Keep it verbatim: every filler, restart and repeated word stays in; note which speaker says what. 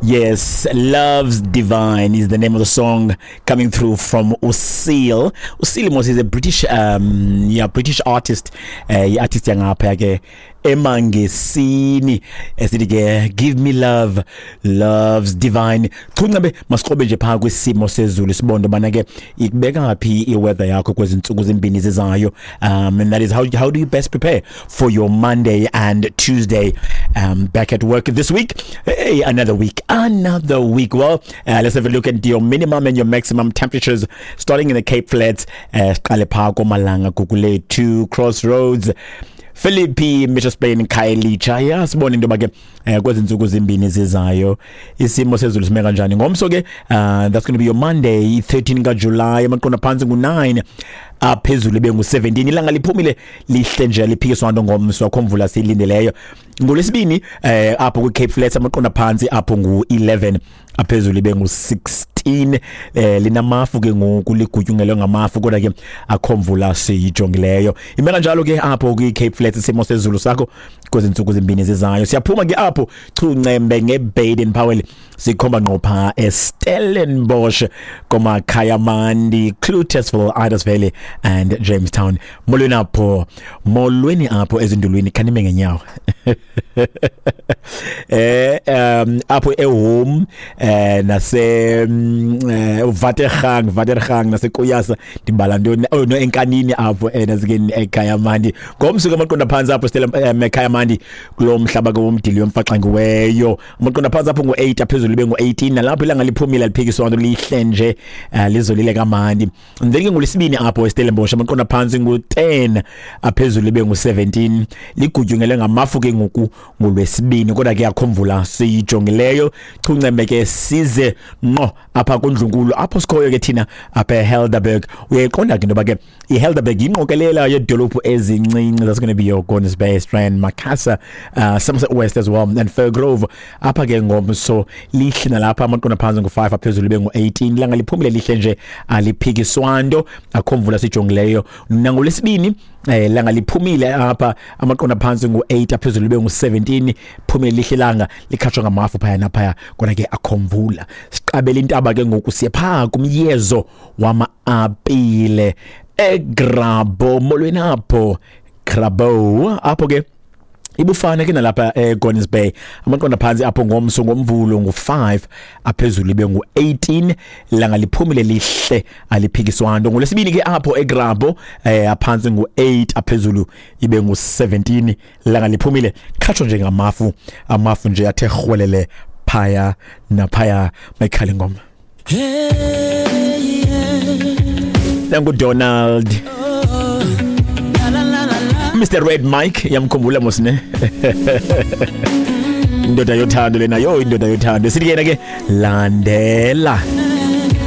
Speaker 1: Yes, Love's Divine is the name of the song coming through from Usil. Usil mos is a British um yeah, British artist. Uh, artist yangapha ke emangesini. Esithi ke give me love, love's divine. Chuncabe masikrobe nje pha kwisimo sezulu sibone bana ke ikubeka phi iweather yakho kwezi ntsuku zimbini zizayo. Um and that is how how do you best prepare for your Monday and Tuesday um back at work this week. Hey, another week. Another week. Well, uh, let's have a look at your minimum and your maximum temperatures starting in the Cape Flats, siqale pha komalanga Gugulethu, Crossroads, Philippi, Mitchells Plain, Khayelitsha. Ya, sibone into yoba ke eh, kwezi ntsuku zimbini zizayo isimo sezulu sime kanjani. Ngomso ke, uh, that's going to be your Monday thirteen kaJuly, amaqondo phantsi ngu-nine, aphezulu ibe ngu-seventeen. Ilanga liphumile lihle nje, liphikiswa nto ngomso, akho mvula siyilindeleyo. Ngolwesibini eh apho kwi-Cape Flats amaqondo phantsi apho ngu-eleven, aphezulu ibe ngu-sixteen. eh linamafu ke ngoku, ligutyungelwe ngamafu, kodwa ke akho mvula siyijongileyo. Ime kanjalo ke apho kwi-Cape Flats isimo sezulu sakho kwezi ntsuku zimbini zizayo. Siyaphuma ke apho chuncembe ngeBaden Powell, sikhomba ngqo pha eStellenbosch, komaKhayamandi, Cloetesville, Idas Valley and Jamestown. Molweni apho, molweni apho ezindulwini, khanime ngenyawo. eh um apho ehome eh nase mm, Watergang, Watergang naseKuyasa, ndibala ntoni? Oh no, enkanini apho eh nasikeni eKhayamandi. Ngomso ke amaqondo phantsi apho Stella eKhayamandi kulo mhlaba ke womdili yomfaxangiweyo, amaqondo phantsi apho ngu-eight, aphezulu ibe ngu-eighteen. Nalapho ilanga liphumile, aliphikiswa nto, lihle nje, eh, lizolile kamandi. And then ke ngolwesibini apho eStellenbosch amaqondo phantsi ngu-ten, aphezulu ibe ngu-seventeen. Ligutyungelwe ngamafu ke ngoku ngolwesibini, kodwa ke akho mvula siyijongileyo. Chuncembe ke size ngqo apha kundlunkulu apho sikhoyo ke thina apha eHelderberg. Uyayiqonda ke into yoba ke iHelderberg yingqokelela yeedolophu ezincinci. That's going to be your Gordons Bay, Strand, Macassar, uh, Somerset West as well and Firgrove. Apha ke ngomso lihle nalapha, amaqondo phantsi ngu-five, aphezulu ibe ngu-eighteen. Ilanga liphumile lihle nje, aliphikiswa nto, akho mvula sijongileyo. Nangolwesibini eh langa liphumile apha, amaqondo phantsi ngu-eight, aphezulu ibe ngu-seventeen. Phumile lihle langa, likhatshwa ngamafu phaya naphaya, kodwa ke akho mvula. Siqabela intaba ke ngoku, siye phaa kumyezo wama-apile eGrabouw. Molweni apho Grabouw. Apho ke ibufana ke nalapha eGordons Bay, amaqondo phantsi apho ngomso ngomvulo ngu-five, aphezulu ibe ngu-eighteen. Langa liphumile lihle, aliphikiswa nto. Ngolwesibini ke apho eGrabouw eh aphantsi ngu-eight, aphezulu ibe ngu-seventeen. Langa liphumile, khatshwa nje ngamafu, amafu nje athe rhwelele phaya naphaya. Mayikhale ingoma.
Speaker 2: Hey, yeah.
Speaker 1: NanguDonald.
Speaker 2: Oh, la la la la la.
Speaker 1: Mister Red Mike, yamkhumbula mos ne? Indoda yothando lena, yo, indoda yothando. Sithi yena ke landela.